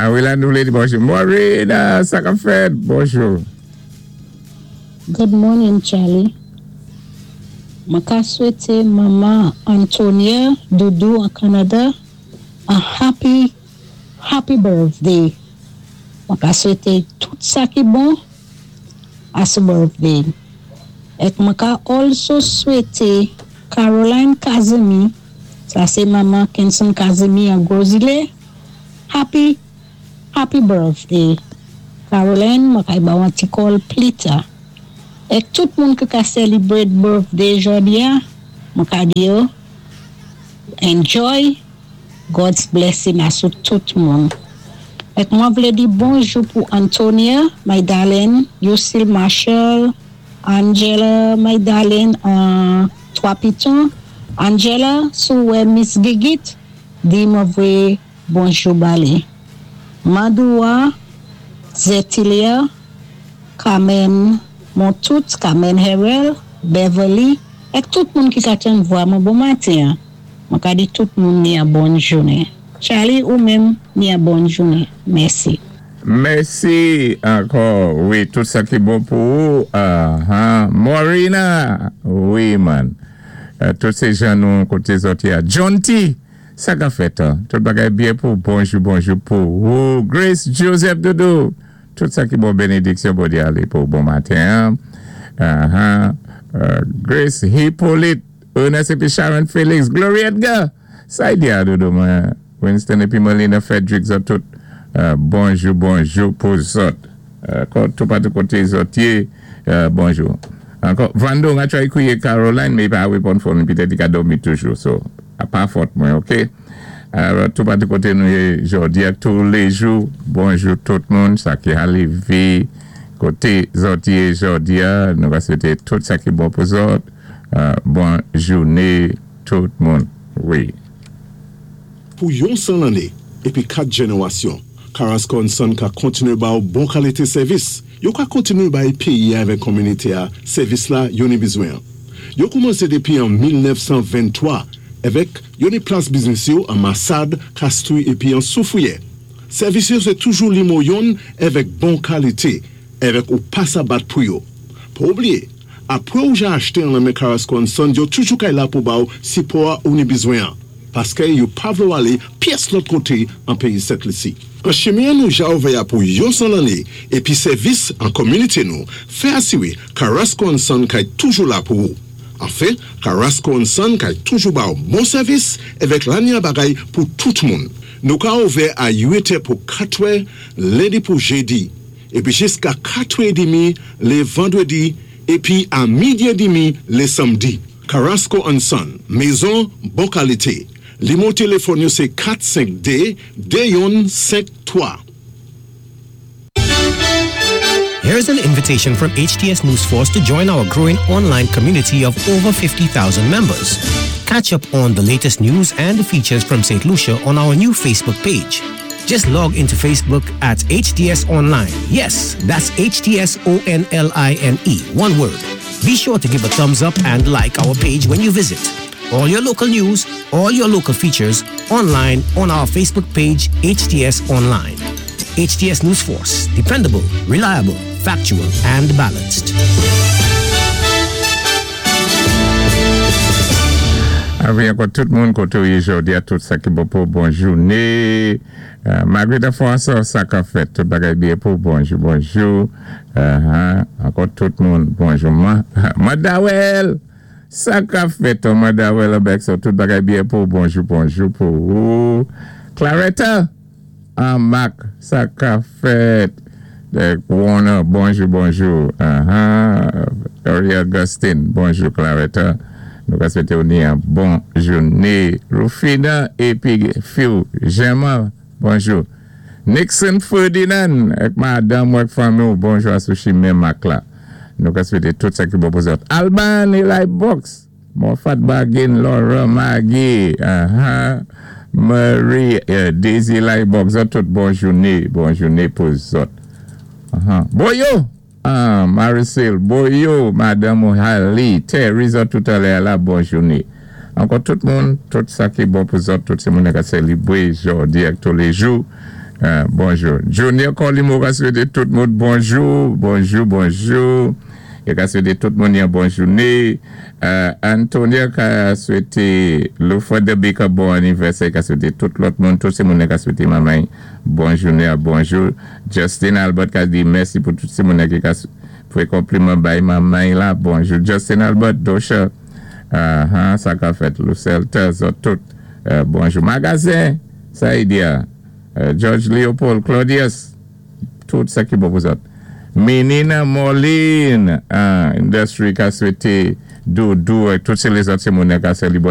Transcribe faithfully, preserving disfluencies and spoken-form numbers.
Ah wi, la nou vlé di bonjou. Maureen, sa k ap fèt? Bonjou. Good morning, Charlie. Mwen ka swété Manman Antonia Doudou an Kanada a happy, happy birthday. Mwen ka swété tout sa ki bon a so birthday. Èk mwen ka also swété Caroline Kazemi, sa sé manman Kenson Kazemi an Gros Islet, happy, happy birthday. Caroline, mwen kay ba ou an ti call pli ta. Èk tout moun ki ka celebrate birthday jòdi a, mwen ka di yo, enjoy God's blessing asou tout moun. Èk mwen vlé di bonjou pou Antonia, my darling, Lucille Marshall, Angela, my darling, an Trois Pitons. Angela, si ou wè Miss Gigit, di mwen voyé bonjou ba li. Mandoua, Zetilia, Carmen Montout, Carmen Herel, Beverly, èk tout moun ki ka tann vwa mwen bon maten. Mwen ka di tout moun ni an bon jounen. Charlie ou menm ni an bon jounen. Mèsi. Mèsi ankò. Wi, tout sa ki bon pou ou. Uh, Morina. Wi, man. Uh, tout sé jan nou koté zòt ya. John T. Sa k ap fèt. Tout bagay byen pou bonjou, bonjou pou ou. Grace Joseph Doudou. Tout sa ki bon bénédiksyon pou di alé pou bon maten. Uh -huh. uh, Grace Hippolyte. Ernest épi Sharon Felix. Glory Edgar. Sa y di a Doudou mwen. Winston épi Melina Frederick zòt tout. Uh, bonjou, bonjou pou zòt. Uh, tout patou koté zòt yé, uh, bonjou. Ankò, Vando, an try kwiyé Caroline, mé i pa reponn phone, pitèt i ka dòmi toujou, so, a pa fòt mwen, ok? Uh, tout patou koté nou yé jòdi a tou lé jou, bonjou tout moun, sa ki alivé, koté zòt yé jòdi a, nou va swété tout sa ki bon pou zòt, uh, bon jouné tout moun, wi. Pou yon san lanné, épi kat jénéwasyon, Carrasco and Son ka kontiné ba ou bon kalité sèvis. Yo ka kontiné bay péyi avèk kominité a, sèvis la yo ni bizwen. Yo koumansé dépi an mil nèf san venntwa, avèk yo ni plas biznis yo an Massade, Castries épi an Soufrière. Sèvis yo sé toujou nimewo youn avèk bon kalité, avèk ou pa sa bat pou yo. Pa oubliyé, apwé ou ja achté an nan Carrasco and Son, yo toujou kay la pou ba ou sipò ou ni bizwen. Paské yo pa vlé ou alé pyès lòt koté an péyi Sent Lisi. An chimen nou ja ouvè pou yon san lanné épi sèvis an kominité nou, fè asiwé Carrasco and Son kay toujou la pou ou. Anfen, Carrasco and Son kay toujou ba ou bon sèvis avèk lanya bagay pou tout moun. Nou ka ouvè a uit è pou katwè, lendi pou jédi, épi jiska katwè édmi lé vandwédi, épi a midi édmi lé samdi. Carrasco and Son, mézon bon kalité. Nimewo téléfòn yo sé kat senk dé de youn senk twa. Here's an invitation from H T S News Force to join our growing online community of over fifty thousand members. Catch up on the latest news and features from Saint Lucia on our new Facebook page. Just log into Facebook at H T S Online. Yes, that's H T S O N L I N E, one word. Be sure to give a thumbs up and like our page when you visit. All your local news, all your local features online on our Facebook page, H T S Online. H T S News Force, dependable, reliable, factual, and balanced. Awi, ankò tout moun koté ou yé jòdi a, tout sa ki bon pou bon jouné. Uh, Margarita François, sa k ap fèt, tout bagay byen pou bonjou, bonjou. Uh -huh. Ankò tout moun, bonjou. Ma, Madawel, sa k ap fèt, Madawel, avèk sa, tout bagay byen pou bonjou, bonjou pou ou. Claretta, ah, Mac, sa k ap fèt. Warner, bonjou, bonjou. Uh -huh. Ari Augustine, bonjou, Claretta. Nou ka swété ou ni an bon jouné. Rufina épi Phil Gemma, bonjou. Nixon Ferdinand, ak madanm ak fanmi, bonjou asou chimen Mac la. Nou ka swété tout sa ki bon pou zòt. Alban Eli Box, Moffat Bargain, Laura Maggie, uh -huh. Marie, uh, Daisy Eli Box, zòt tout bon jouné, bon jouné pou zòt. Uh -huh. Boyo! Ah, Maricel, Boyo, Madame Hali, Terry, zòt tout alè la, bon jouné. Ankò tout moun, tout sa ki bon pou zòt, tout sé moun ka sélébré jòdi ak tou lé jou. Euh, bonjou. Junior Colimo ka swété tout moun bonjou, bonjou, bonjou. I ka swété tout moun yon bon jouné. Euh, Antonia ka swété Luford de Baker bon anivèsè, ka swété tout lòt moun, tout sé moun ka swété manman bon jouné, bonjou. Justin Albert ka di mèsi pou tout sé moun ki ka fè konpliman bay manman la, bonjou. Justin Albert, Dosha, uh, -huh, sa ka fèt, Lucelle Tezo, tout, euh, bonjou. Magazen, sa y di uh, George Leopold, Claudius, tout sa ki bon pou zòt. Menina Moline, uh, Industry ka swété Doudou, tout sé lézòt sé moun ka sé li bon